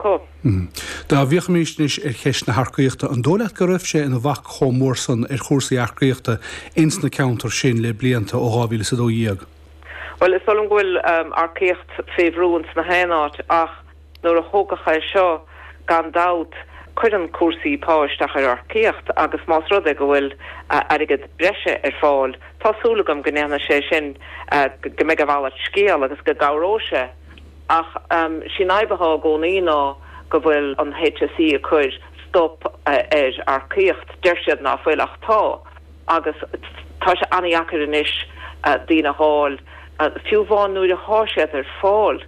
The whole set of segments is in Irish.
Acu. Dá bhféachfaimis anois ar cheist na hearcaíochta, an dóigh leat go raibh sé ina bhac chomh mór san ar chúrsaí earcaíochta ins na ceantair sin le blianta, ó 2012? Bhuel, is dóigh liom go bhfuil earcaíocht fé bhrú ins na haon áit ach nuair a tógadh é seo, gan dabht, cuireann cúrsaí pá isteach ar earcaíocht agus más rud é go bhfuil airgead breise ar fáil, tá súil agam go ndéanfaidh sé sin, go mbeidh a mhalairt scéal agus go gcabhróidh sé. Ach sí an fhadhb athá i gcónaí ná go bhfuil an HSE ag cur stop ar earcaíocht. Deir siad ná fuil ach tá. Agus tá sé an-dheacair anois daoine a dh'fháil. Fiú amháin nuair athá siad ar fáil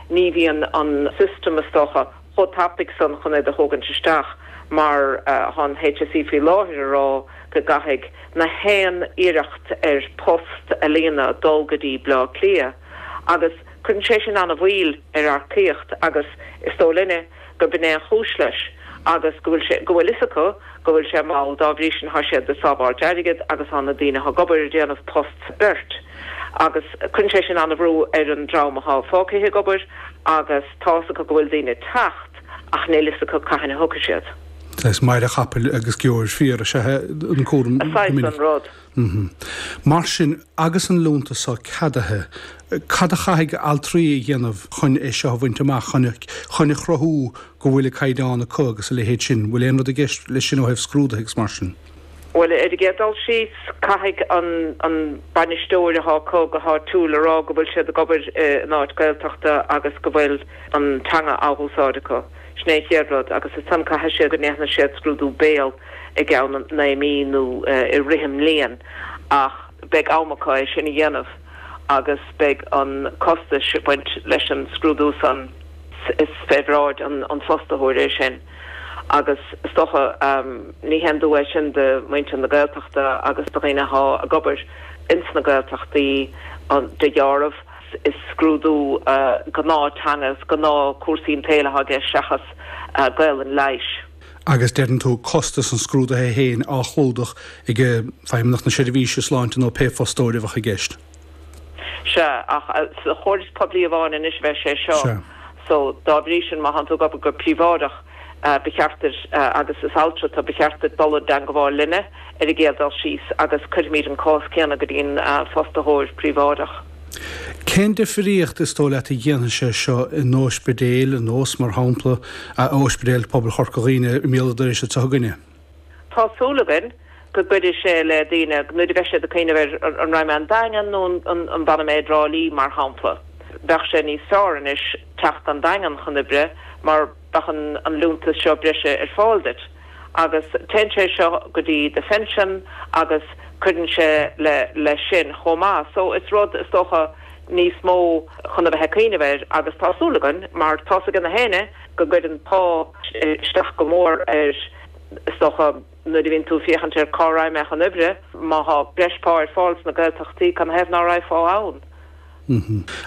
ní bhíonn an system is dócha chomh tapaidh san chun iad a thógaint isteach mar thá an HSE faoi láthair a rá go gcaithfidh na haon iarracht ar post a líonadh dul go dtí Bleá Cliath. Agus cuireann sé sin an-mhoill ar earcaíocht agus is dóigh linne gurb in é an chúis leis agus go bhfuil sé, go bhfuil fhios acu go bhfuil sé mall, dá bhrí sin thá siad ag sábháilt airgid agus thá na daoine athá ag obair ag déanamh post beirt agus cuireann sé sin an-bhrú ar an dream athá fágtha ag obair agus tá fhios acu go bhfuil daoine ag teacht ach níl fhios acu cathain a thiocfaidh siad. Saghas maire chapaill agus geobhair fiar is ea an cúram go Saghas minic. an rud. Mar sin, agus an liúntas seo ceadaithe, cad a chaithfidh altraí a dhéanamh chun é seo a bhaint amach, chun chun a chruthú go bhfuil an caighdeán acu agus a leithéid sin? Bhfuil aon rud i gceist leis sin ó thaobh scrúduithe agus mar sin? Bhuel, ar an gcéad dul síos, caithfidh an an bainisteoir atá acu go háitiúil a rá go bhfuil siad ag obair in áit Gaeltachta agus go bhfuil an teanga á húsáid acu. Sin é an chéad rud. Agus ansan caithfidh siad go ndéanfaidh siad scrúdú béil. i gceann 9 mí nó i rith an mbliain ach beidh am acu é sin a dhéanamh agus beidh an costais ag baint leis an scrúdú san, is fé bhráid an fostaitheoir é sin agus is dócha ní haon dua é sin do mhuintir na Gaeltachta agus do dhaoine athá ag obair ins na Gaeltachtaí de dheáramh. Is scrúdú gnáth teanga, is gnáth cúrsaí an tsaoil athá i gceist seachas Gaelainn leighis. Agus deireann tú costas an scrúdaithe féin á chlúdach ag Feidhmeannacht na Seirbhíse Sláinte nó pé fostóir a bheadh i gceist. Sea, ach sa chóras poiblí amháin anois a bheidh sé seo. Sea. So, dá bhrí sin, má thánn tú ag obair go príobháideach, ba cheart duit, agus is altra tú, ba cheart duit dul i dteangabháil linne ar an gcéad dul síos agus cuirfimid an cás céanna go dtí an fostaitheoir príobháideach. Cén difríocht is dóigh leat a dhéanfaidh sé seo in óispidéil, ar nós, mar shampla, Ospidéal Pobail Chorca Dhuibhne i mBéal an Dorais anseo againne? Tá súil againn go gcuirfidh sé le daoine nuair a bheidh siad ag cuimhneamh ar an raghaidh mé an Daingean nó an bhfanfaidh mé i dTrá Lí, mar shampla. Bheadh sé níos fearr anois teacht an Daingean chun oibre mar bheadh an liúntas seo breise ar fáil duit. Agus téann sé seo go dtí do phension agus cuireann sé le leis sin chomh maith. So is rud is dócha níos mó chun a bheith ag cuimhneamh air agus tá súil againn mar tá's ag na héinne go gcuireann pá isteach go mór ar is dócha nuair a bhíonn tú ag féachaint ar cá raghaidh mé chun oibre, má thá breis pá ar fáil sna Gaeltachtaí cad 'na thaobh ná raghfá ann?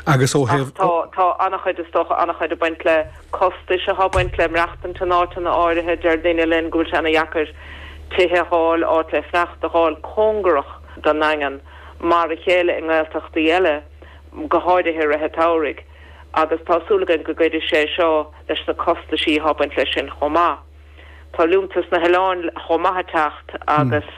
Agus ó thaobh. Ach tá, tá an-chuid, is dócha, an-chuid ag baint le costais atá ag baint le maireachtaint in áiteanna áirithe. Deir daoine linn go bhfuil sé ana-dheacair tithe a dh'fháil, áit le fanacht a dh'fháil cóngarach don nDaingean, mar a chéile i nGaeltachtaí eile, go háirithe i rith an tsamhraidh. Agus tá súil againn go gcuirfidh sé seo leis na costaisí atá ag baint leis sin chomh maith. Tá liúntas na hoileáin chomh maith ag teacht agus.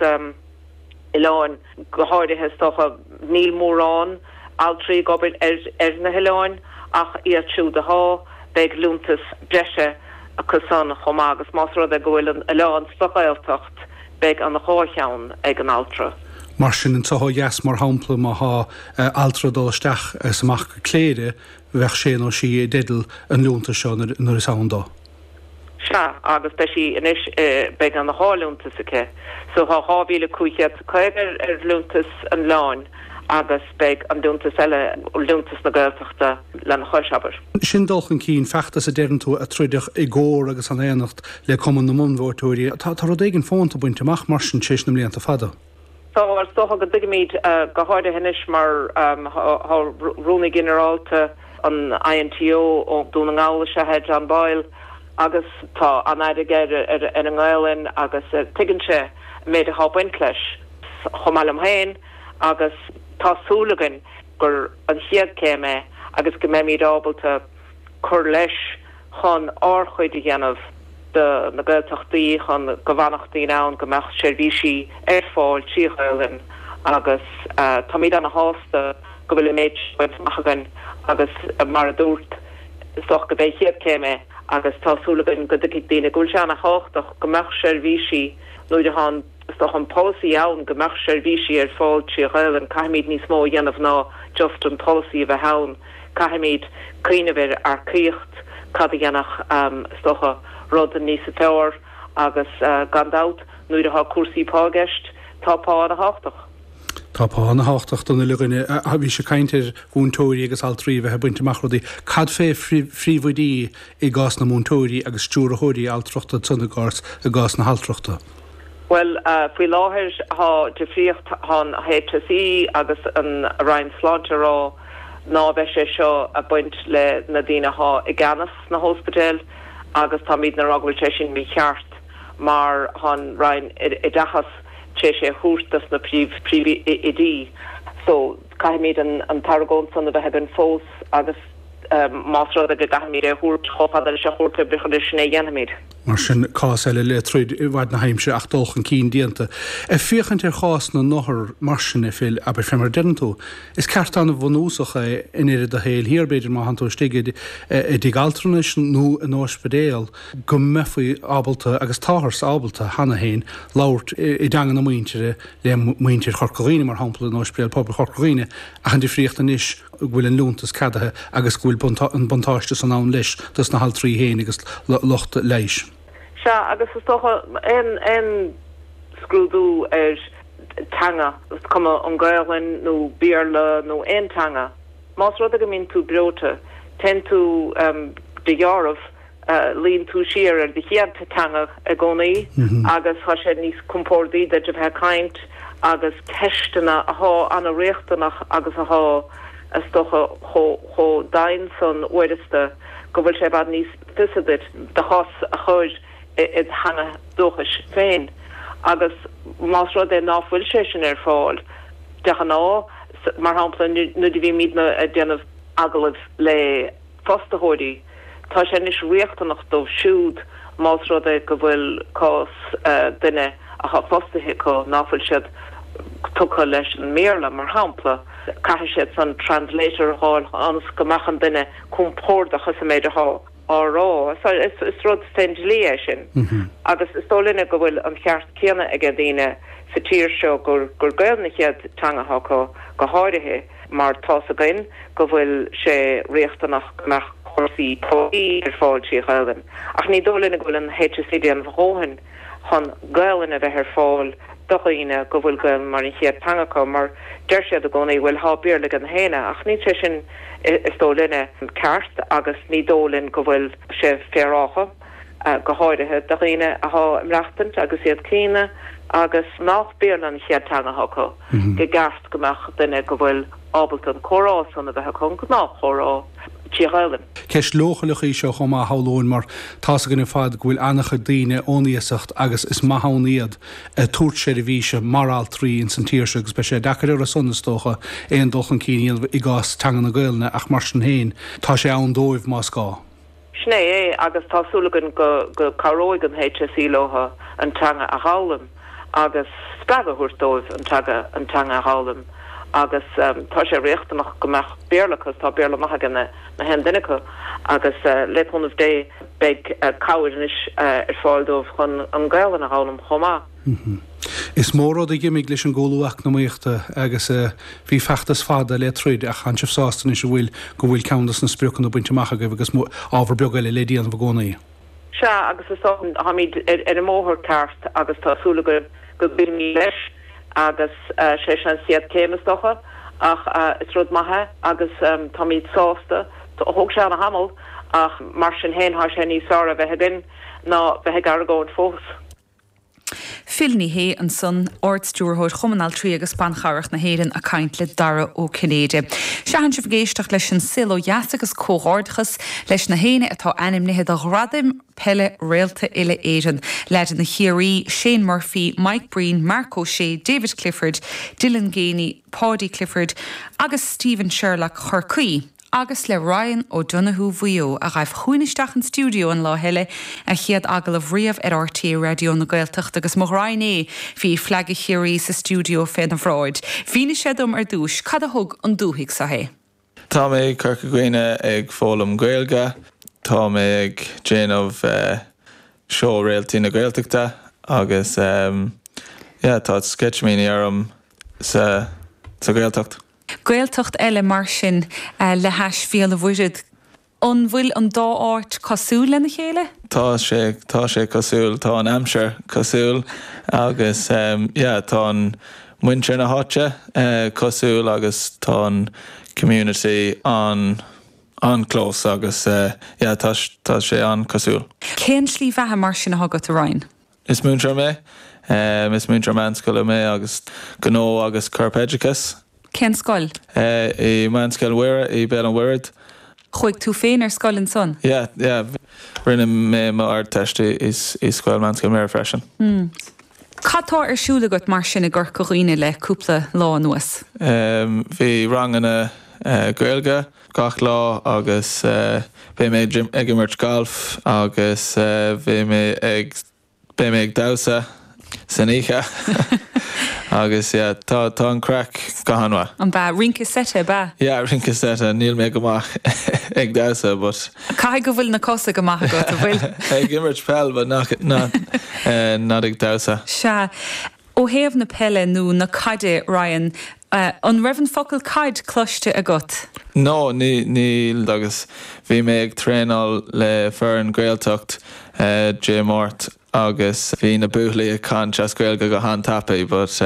oileáin, go háirithe is dócha. Níl mórán altraí ag obair ar na hoileáin ach iad siúd athá, beidh liúntas breise acu san chomh maith agus más rud é go bhfuil an oileán sa Ghaeltacht beidh an dhá cheann ag an altra. Mar sin, anseo ó dheas mar shampla, má thá altra ag dul isteach is amach go Cléire, bheadh sé nó sí i dteideal an liúntais seo nuair is ann dó. Sea, agus beidh sí anois, beidh an dhá liúntas aici. So tá 2,550 ar liúntas an oileáin agus beidh an liúntas eile, liúntas na Gaeltachta, lena chois, abair. Sin dul chun cinn, feachtas a deireann tú a troideadh i gcomhar agus in aonacht le Cumann na mBunbhreoiteoirí. Tá rud éigin fónta bainte amach mar sin tar éis na mblianta fada. Tá, is dócha go dtuigimid, go háirithe anois mar tá Rúnaí Ginearálta an INTO ó Dhún na nGall is ea é John Boyle agus tá an-aire aige ar an nGaelainn agus tuigeann sé an méid atá ag baint leis, chomh maith liom féin, agus tá súil againn gur an chéad céim é agus go mbeimid ábalta cur leis. chun ár chuid a dhéanamh do na Gaeltachtaí, chun go bhfanfadh daoine ann, go mbeadh seirbhísí ar fáil trí Ghaelainn agus táimid ana shásta go bhfuil an méid seo bainte amach againn agus mar a dúrt, is dócha go b'é an chéad céim é agus tá súil againn go dtuigfidh daoine go bhfuil sé ana thábhachtach go mbeadh seirbhísí nuair atá an Is dócha an polasaí ann go mbeadh seirbhísí ar fáil trí Ghaelainn, caithfimid níos mó a dhéanamh ná just an polasaí a bheith ann. Caithfimid cuimhneamh ar earcaíocht, cad a dhéanfadh is dócha rud níos fearr agus gan dabht nuair atá cúrsaí pá i gceist, tá pá ana-thábhachtach. Tá pá ana-thábhachtach don uile dhuine. Bhís ag caint ar mhúinteoirí agus altraí a bheith ag baint amach rudaí. Cad fé phríomhoidí i gcás na múinteoirí agus stiúrthóirí altrachta ansan i gcás i gcás na haltrachta? Bhuel, faoi láthair tá difríocht, tá an HSE agus an Roinn Sláinte ag rá ná beidh sé seo ag baint le na daoine athá i gceannas sna hóspidéil agus táimidne ag rá go bhfuil sé sin mícheart mar tá an Roinn Oideachais tar éis é a thabhairt dos na príomhoidí. So, caithfimid an t-argóint san a bheith againn fós agus más rud é go gcaithfimid é a thabhairt chomh fada leis an Chúirt Oibreachais sin é a dhéanfaimid. Mar sin, cás eile le troid i bhfad na haimsire ach dul chun cinn déanta. Ag féachaint ar chás na n-othar mar sin, a Phil, abair, fé mar a deireann tú, is ceart an-bhunúsach é i ndeireadh do shaoil thiar, b'fhéidir, má thánn tú istigh i dtigh altranais nó in ospidéal, go mbeifí ábalta, agus táthar ábalta cheana féin, labhairt i dteanga na muintire le muintir Chorca Dhuibhne, mar shampla, in Ospidéal Pobail Chorca Dhuibhne, ach an difríocht anois go bhfuil an liúntas ceadaithe agus go bhfuil an buntáiste san ann leis dos na haltraí féin agus lucht leighis. Sea, agus is dócha, aon scrúdú ar teanga, is cuma an Gaelainn nó Béarla nó aon teanga, más rud é go mbíonn tú breoite, téann tú de dheáramh, luíonn tú siar ar do chéad teanga i gcónaí agus tá sé níos compórdaí duit a bheith ag caint agus ceisteanna athá ana-riachtanach agus athá, is dócha, chomh domhain san uaireasta go bhfuil sé i bhfad níos fusa duit do chás a chur i do theanga dúchais féin. Agus más rud é ná fuil sé sin ar fáil, de ghnáth, mar shampla nuair a bhímidne ag déanamh agallaimh le. fostaitheoirí, tá sé anois riachtanach dóibh siúd más rud é go bhfuil cás duine athá fostaithe acu ná fuil siad tugtha leis an mBéarla, mar shampla, caithfidh siad san translator a dh'fháil ionas go mbeadh an duine compordach sa méid athá á rá. Is rud fén dlí é sin agus is dóigh linne go bhfuil an cheart céanna aige daoine sa tír seo gur Gaelainn an chéad teanga athá acu go háirithe. mar tá's againn go bhfuil sé riachtanach go mbeadh cúrsaí poiblí ar fáil trí Ghaelainn, ach ní dóigh linn go bhfuil an HSE ag déanamh a dhóthain chun Gaelainn a bheith ar fáil do dhaoine go bhfuil Gaelainn mar an chéad teanga acu, mar deir siad i gcónaí, bhuel, thá Béarla ag na héinne, ach níl sé sin, is dóigh linne, ceart agus ní dóigh linn go bhfuil sé féaráilte. go háirithe do dhaoine athá ag maireachtaint agus iad críonna agus nách Béarla an chéad teanga athá acu, go gceart go mbeadh duine go bhfuil ábalta an comhrá san a bheith acu, an gnáthchomhrá, trí Ghaelainn. Ceist leochaileach í seo chomh maith, shamhlóinn, mar tá's againn ar fad go bhfuil an-chuid daoine ón iasacht agus is maith ann iad ag tabhairt seirbhíse mar altraí ins an tír seo agus beidh sé deacair orthu san, is dócha, aon dul chun cinn a dhéanamh i gcás teanga na Gaelainne ach mar sin féin, tá sé ann dóibh más gá. Sin é é agus tá súil againn go cabhróidh an HSE leo an teanga a dh'fhoghlaim agus spreagadh a thabhairt dóibh an teanga an teanga a dh'fhoghlaim agus tá sé riachtanach go mbeadh Béarla acu, tá Béarla maith ag na haon duine acu agus le cúnamh Dé beidh cabhair anois ar fáil dóibh chun an Gaelainn a dh'fhoghlaim chomh maith. Is mó rud a dh'imigh leis an gcúlú eacnamaíochta agus bhí feachtas fada le troid ach tánn sibh sásta anois a bhfuil go bhfuil ceann dos na spriocanna bainte amach agaibh agus ábhar beag eile le déanamh i gcónaí. Sea, agus is dócha táimid ar an mbóthar ceart agus tá súil againn go gcoinneoimid leis agus sé seo an chéad céim is dócha ach is rud maith é agus táimid sásta. Thóg sé ana-thamall ach mar sin féin tá sé níos fearr a bheith againn ná bheith ag argóint fós. Phil Ní Sheaghdha ansan, Ard-Stiúrthóir Chumann Altraí agus Ban Chabhrach na hÉireann ag caint le Dara Ó Cinnéide. Sea, tánn sibh ag éisteacht leis an Saol Ó Dheas agus comhghairdeachas leis na héinne atá ainmnithe do Ghradaim Peile Réalta Uile-Éireann, leaideanna Chiarraí, Shane Murphy, Mike Breen, Marc Ó Sé, David Clifford, Dylan Geaney, Paudie Clifford agus Stephen Sherlock Chorcaí. agus le Ryan O'Donoghue Mhaigh Eo, a ghaibh chugainn isteach an stiúideo an lá eile, a chéad agallamh riamh ar RTÉ Raidió na Gaeltachta agus mo ghraidhin é, bhí fleaga Chiarraí sa stiúideo féna bhráid. Mhínigh sé dom ar dtúis cad a thug 'un dúthaigh so é. Tá mé i Corca Dhuibhne ag foghlaim Gaeilge. Tá mé ag déanamh seó Réaltaí na Gaeltachta agus yeah tá sceitimíní orm sa sa Ghaeltacht. Gaeltacht eile mar sin le hais Bhéal an Mhuirthead. An bhfuil an dá áit cosúil lena chéile? Tá sé, tá sé cosúil, tá an aimsir cosúil agus yeah tá an muintir na háite cosúil agus tá an community an an-close agus yeah tá tá sé an-cosúil. Cén slí bheatha mar sin atá agat, a Ryan? Is múinteoir mé. Is múinteoir meánscoile mé agus gnó agus corpoideachas. Cén scoil? I Meánscoil Mhuire i Béal an Mhuirthead. Chuaigh tú féin ar scoil ansan? Yeah, yeah. Rinne mé mo Ardteist i scoil Meánscoil Mhuire freisin. Cad tá ar siúl agat mar sin i gCorca Dhuibhne le cúpla lá anuas? Bhí ranganna Gaeilge gach lá agus beidh mé ag imirt galf agus beidh mé ag beidh mé ag damhsa san oíche agus yeah tá tá an craic go han-mhaith. An b'ea? Rince seite ab ea? Yeah rince seite, níl mé go maith ag damhsa but. Caithfidh go bhfuil na cosa go maith agat, an bhfuil? Ag imirt peil but not not not ag damhsa. Sea. Ó thaobh na peile nó na caide, Ryan, an raibh an focal caid cloiste agat? No, níl agus bhí mé ag traenáil le foireann Gaeltacht Dé Máirt agus bhí na buachaillí ag caint as Gaeilge go han-tapaidh but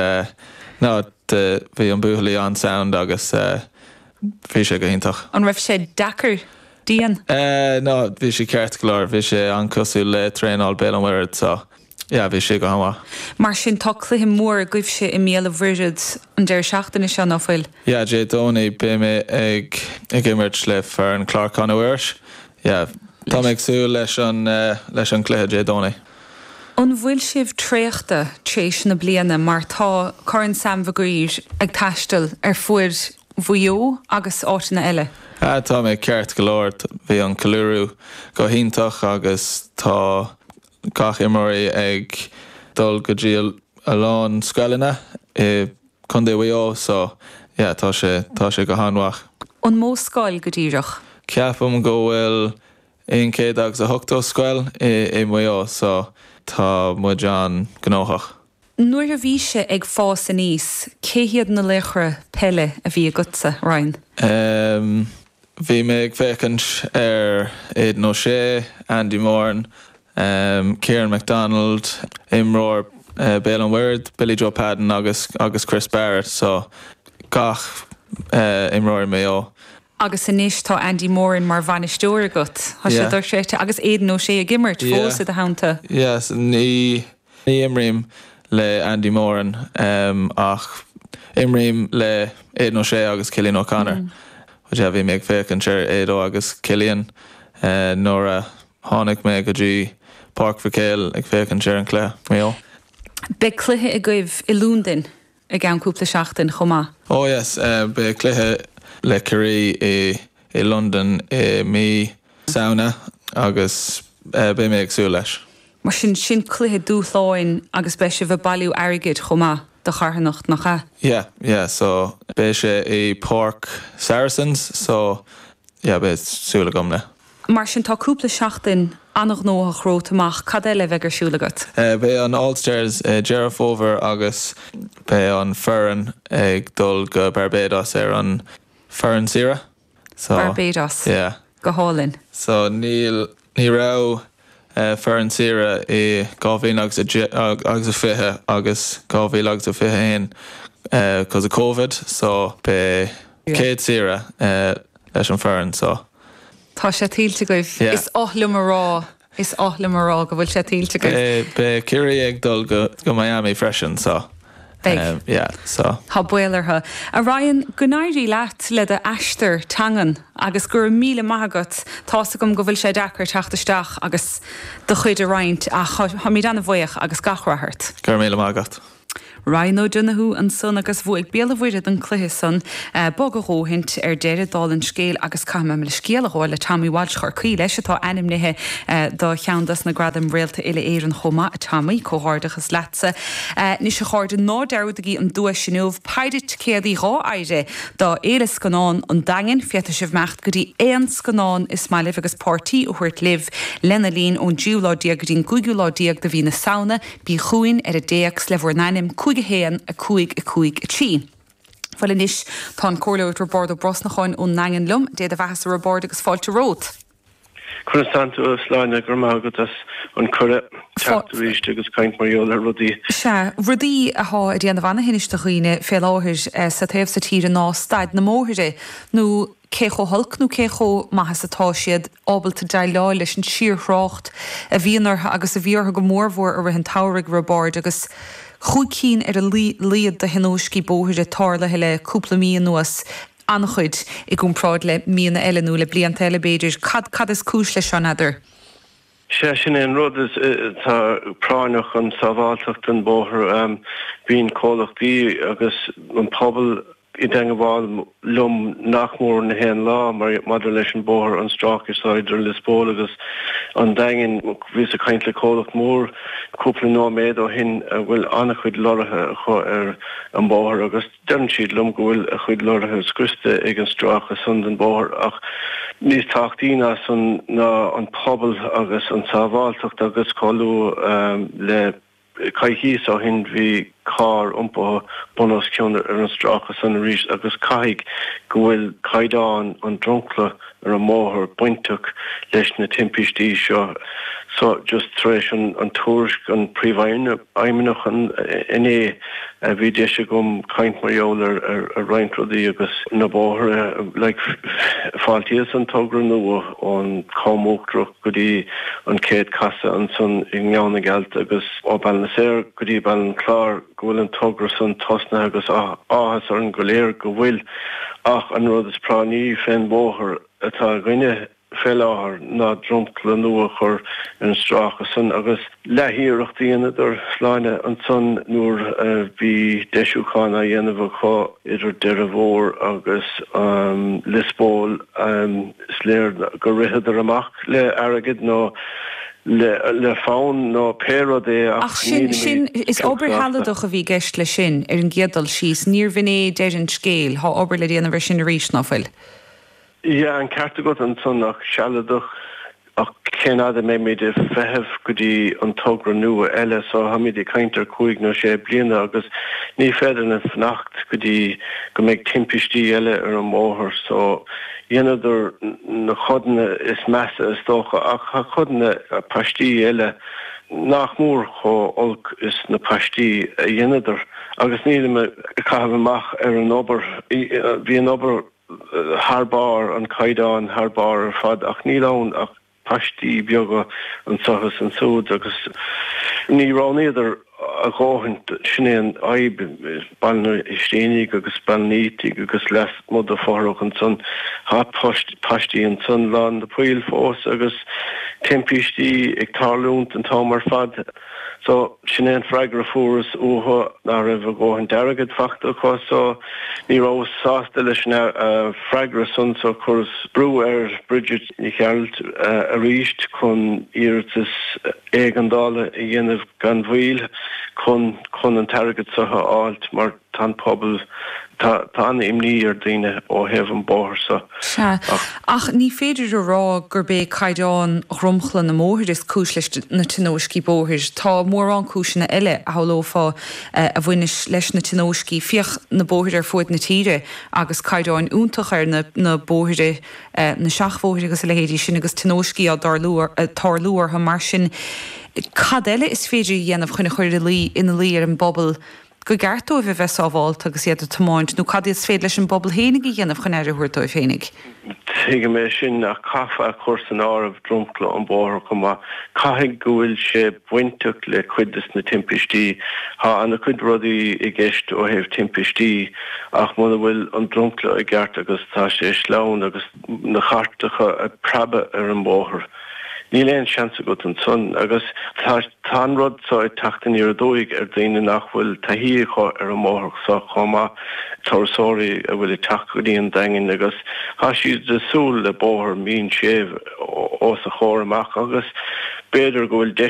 no, bhí an buachaillí an-sound agus bhí sé go hiontach. An raibh sé deacair, dian? No, bhí sé ceart go leor, bhí sé an-cosúil le traenáil Béal an Mhuirthead so Yeah, bhí sé go han-mhaith. Mar sin, tá cluiche mór agaibhse i mBéal an Mhuirthead an deireadh seachtaine seo, ná fuil? Yeah, Dé Domhnaigh beidh mé ag ag imirt le foireann Clár Clanna Mhuiris. Yeah, tá mé ag súil leis an leis an cluiche Dé Domhnaigh. An bhfuil sibh traochta tréis na bliana mar tá Corn Sam Mhig Uidhir ag taisteal ar fuaid Mhaigh Eo agus áiteanna eile? Ah, tá mé ceart go leor. Bhí an ceiliúradh go hiontach agus tá gach imreoirí ag dul go dtí a lán scoileanna i Contae Mhaigh Eo so yeah tá sé tá sé go han-mhaith. An mó scoil go díreach? Ceapaim go bhfuil 180 scoil i Maigh Eo so tá muid an-ghnóthach. Nuair a bhís-se ag fás aníos, cé hiad na laochra peile a bhí agatsa, Ryan? Em, bhí mé ag féachaint ar Aidan O'Shea, Andy Moran, em, Kieran McDonald, imreoir Béal an Mhuirthead, Billy Joe Padden agus agus Chris Barrett, so gach eh imreoir Maigh Eo. Agus anois tá Andy Moran mar bhainisteoir agat. Tá sé dochreidte. Agus Aidan O'Shea ag imirt fós i do theannta. Yes, ní Ní imrím le Andy Moran ach imrím le Aidan O'Shea agus Cillian O'Connor. But yeah, bhí mé ag féachaint ar Aido agus Cillian nuair a tháinig mé go dtí Páirc Mhic Éil ag féachaint ar an cluiche, Maigh Eo. Beidh cluiche agaibh i Londain i gceann cúpla seachtain chomh maith. Oh yes, beidh cluiche le Ciarraí i i Londain i mí Samhna agus beidh mé ag súil leis. Mar sin, sin cluiche dúshláin agus beidh sibh ag bailiú airgid chomh maith do charthanacht, nach ea? Yeah, yeah, so beidh sé i Páirc Saracens so yeah beidh súil agam le. Mar sin, tá cúpla seachtain an-ghnóthach romhat amach, cad eile a bheidh ar siúl agat? Beidh an All Stars i Deireadh Fómhair agus beidh an foireann ag dul go Barbados ar an foireann saoire. So, Barbados. Yeah. Go hálainn. So níl, ní raibh foireann saoire i 2000 agus a deich, agus a 20 agus 2000 agus a 21 cos of Covid so beidh céad saoire leis an foireann so. Tá sé tuillte agaibh. Yeah. Is oth liom a rá. Is oth liom a rá go bhfuil sé tuillte agaibh. Beidh Ciarraí ag dul go Miami freisin so. Beidh. Yeah so. Tá baol orthu. A Ryan, go n-éirí leat le do aistear teangan agus go raibh míle maith agat. Tá's agam go bhfuil sé deacair teacht isteach agus do chuid a roinnt ach táimid an-bhuíoch agus gach rath ort. Go raibh míle maith agat. Ryan O'Donoghue ansan agus bhuaigh Béal an Mhuirthead an cluiche san. Bog a dhóthaint ar deireadh, dála an scéil, agus caithfidh mé mo leithscéal a ghabháil le Tommy Walsh Chorcaí leis, atá ainmnithe do cheann dos na gradaim Réalta Uile-Éireann chomh maith. A Tommy, comhghairdeachas leatsa. Anois a chairde, ná dearúdaigí an duais inniu, péire ticéadaí 2 fhear do Fhéile Scannán an Daingin. Féadfaidh sibh imeacht go dtí aon scannán is maith libh agus páirtí a thabhairt libh lena linn ón dtríú lá déag go dtí an gcúigiú lá déag de mhí na Samhna. Bí chugainn ar an dtéacs le bhur n-ainm, 5 1 5 5 3. Bhuel anois, tá an Comhairleoir Roibeárd Ó Brosnacháin ón nDaingean liom. Dé do bheathasa a Roibeáird agus fáilte romhat. Conas tánn tú, a Shláine? Go raibh maith agat as an cuireadh teacht arís agus caint mar gheall ar rudaí. Sea, rudaí athá ag déanamh ana-thinnis do dhaoine fé láthair sa taobh so tíre ná staid na mbóithre, nó cé chomh holc nó cé chomh maith is atá siad ábalta déileáil leis an síorthrácht a bhíonn orthu agus a bhí orthu go mórmhór i rith an tsamhraidh, a Roibeáird, agus chúig cinn ar a laghad de thionóiscí bóithre tarlaithe le cúpla mí anuas, an-chuid i gcomparáid le míonna eile nó le blianta eile b'fhéidir. Cad, cad is cúis leis seo, n'fheadar? Sea, sin é an rud is atá práinneach, an sábháilteacht den bhóthar. Bíonn comhlachtaí agus an pobal i dteangabháil liom nach mór na haon lá maidir leis an bóthar, an stráice seo idir Lios Póil agus an Daingean. Bhíos ag caint le comhlacht mór cúpla nóiméad ó shin a bhfuil an-chuid lorraithe acu ar an bhóthar agus Deireann siad liom go bhfuil a chuid lorraithe scriosta ag an stráice san den bhóthar ach níos tábhachtaí ná san ná an pobal agus an tsábháilteacht agus chomh luath le coicíos ó shin bhí carr iompaithe bun os cionn ar an stráice san arís agus caithfidh go bhfuil caighdeán an dromchla ar an mbóthar bainteach leis na timpistí seo. So just tar éis an tuairisc an Príomhfheidhmeannach inné bhí deis agam caint mar gheall ar roinnt rudaí agus na bóithre like fáiltíos an togra nua ón Com Uachtarach go dtí an chéad casadh ansan i nGleann na gCealt agus ó Bhaile na Saor go dtí Baile an Chláir go bhfuil an togra san tosnaithe agus áthas orainn go léir go bhfuil ach an rud is práinní fén bhóthar atá againne fé láthair ná dromchla nua a chur ar an stráice san agus leathiarracht a dheineadar, Sláine, ansan nuair a bhí deisiúchán á dhéanamh acu idir Doire Mhór agus Lios Póil is léir gur ritheadar amach le airgead nó le fonn nó pé rud é ach Ach sin, sin, is obair shealadach a bhí i gceist leis sin, ar an gcéad dul síos. Níorbh in é deireadh an scéil. Thá obair le déanamh ar sin arís, ná fuil? Yeah, an ceart agat ansan ach sealadach, ach cén fhad a mbeimid ag feitheamh go dtí an togra nua eile so táimid ag caint ar chúig nó sé bliana agus ní féidir linn fanacht go dtí go mbeidh timpistí eile ar an mbóthar so Dheineadar na codanna is measa is dócha ach tá codanna paistí eile nach mór chomh olc is na paistí a dheineadar agus nílim ag caitheamh amach ar an obair, bhí an obair thar barr, an caighdeán thar barr ar fad ach níl ann ach paistí beaga anso is ansúd agus ní roghnaíodar a dhóthain, sin é an fhadhb, Baile an Fheirtéaraigh agus Baile an Fhaoitigh agus lasmuigh de fothrach ansan, tá paistí ansan lán de poill fós agus timpistí ag tarlúint an t-am ar fad. So, sin é an freagra a fuaireas uathu, nach raibh a dhóthain airgid fachta acu so ní rabhas sásta leis an freagra san so chuireas brú ar Bridget Ní Ghearailt arís chun iarratas éigeandála a dhéanamh gan mhoill chun chun an t-airgead so a fháilt mar Tá an pobal, tá an-imní ar daoine ó thaobh an bóthar so. Sea, ach ní féidir a rá gurb é caighdeán dhromchla na mbóithre is cúis leis na tionóiscí bóthair. Tá mórán cúiseanna eile, a shamhlófá, a bhaineas leis na tionóiscí. Féach na bóithre ar fuaid na tíre agus caighdeáin iontach ar na bóithre, na seachbhóithre agus a leithéidí sin agus tionóiscí á dtarlú orthu. Mar sin, cad eile is féidir a dhéanamh chun a chur ina luí ar an bpobal gur ceart dóibh a bheith sábhálta agus iad ag tiomáint, nó cad is féidir leis an bpobal fhéinig a dhéanamh chun aire a thabhairt dóibh fhéinig? Tuigim é sin, ach caithfear a chur san áireamh dromchla an bhóthair chomh maith. Caithfidh go bhfuil sé bainteach le cuid des na timpistí. Tá ana-chuid rudaí i gceist ó thaobh timpistí ach muna bhfuil an dromchla i gceart agus tá sé sleamhain agus na cairteacha ag preabadh ar an mbóthar. Níl aon seans agat ansan agus tá tá an rud so ag teacht aniar aduaidh ar daoine nach bhfuil taithí acu ar an mbóthar so chomh maith, turasóirí a bhfuil ag teacht go dtí an Daingean agus tá siad ag súil le bóthar mín séimh os a chomhair amach agus b'fhéidir go bhfuil deis.